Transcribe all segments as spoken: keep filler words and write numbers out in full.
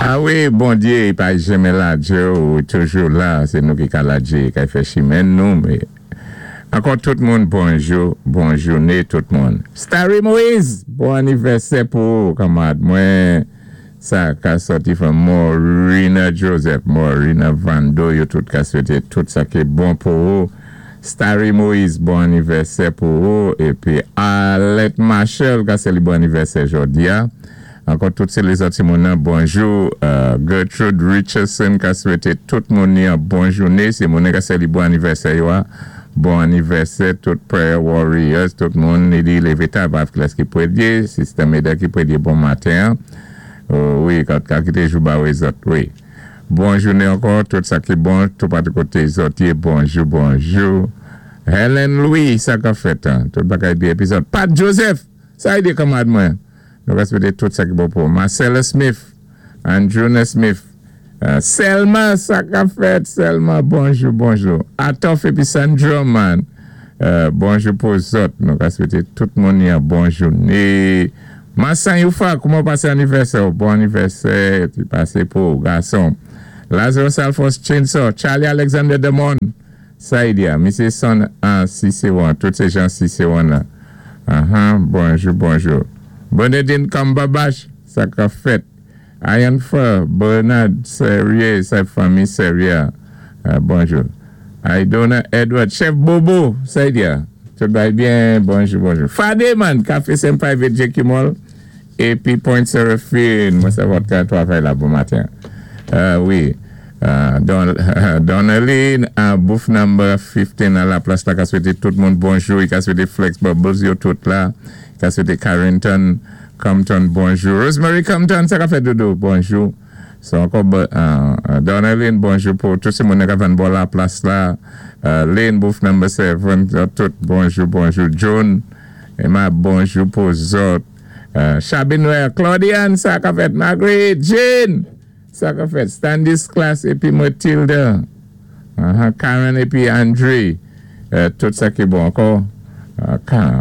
A wi, Bondyé pa janmen ladjé ou toujou la, sé nou ki ka ladjé, kay fè chimen nou, mé ankò tout moun bonjou, bon jouné tout moun. Starry Moise, bon anivèsè pou ou, kanmad mwen, sa ka sòti from Morina Joseph, Morina Vando, yo tout ka swété tout sa ki bon pou ou. Starry Moise, bon anivèsè pou ou, épi Alet Marshall, ka sé li bon anivèsè jòdi a. Ankò tout sé lézòt ti moun nan, bonjou. Gertrude Richardson ka swété tout moun ni an bon jouné. Sé moun nan ka sé li bon anivèsè yo a. Bon anivèsè tout prayer warriors, tout moun ni di lévé tab avk lès ki pwédyé, Sister Meda ki pwédyé bon maten. Wi, ka kité jou ba wé zòt, wi. Bon jouné ankò, tout sa ki bon, tout patou koté zòt yé, bonjou, bonjou. Helen Louis, sa ka fèt, tout bagay di épizòd. Pat Joseph, sa y di kanmad mwen. Nou ka swété tout sa ki bon pou. Marcella Smith, Andruna Smith, Selma, sa ka fèt, Selma, bonjou, bonjou. Atof épi Sandra man, bonjou pou zòt. Nou ka swété tout moun yon bon jouné. Massan Youfa, kouman pasé anivèsè? Bon anivèsè, ti pasé pou gason. Lazarus Alphonse Chainsaw, Charlie Alexander Demon, sa y di a, Misé Son an Cicéron, tout sé jan Cicéron la. Ahan, bonjou, bonjou. Bernadine Cumberbatch, sa ka fèt. Ian Fur, Bernard Serrier, sa fanmi Serrier. Bonjou. Aidona Edward, Chef Bobo, sa y di a. Tout bay byen, bonjou, bonjou. Fade man, Café Saint Private J Q Mall, épi Point Seraphine, mwen sa vòt ka twavay la bon maten. Wi, Donaline, booth number fifteen a la plas la ka swété tout moun bonjou, i ka swété Flex Bubbles yo tout la, ka swété Carrington Compton bonjou. Rosemary Compton, sa ka fèt dodo, bonjou. So ankò, Donaline, bonjou pou tout sé moun ka vann bò la plas la. Lane, booth number seven, tout bonjou, bonjou. John, Emma, bonjou pou zòt. Chabinouel, Claudiane, sa ka fèt. Marguerite, Jane, sa ka fèt. Standis Class, épi Matilda. Karen, épi Andre. Tout sa ki bon ankò.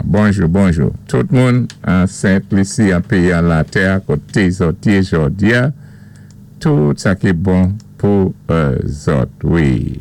Bonjou, bonjou. Tout moun an Saint-Lucie, an péyi an latè, koté zòt yé jòdi a. Tout sa ki bon pou zòt, wi.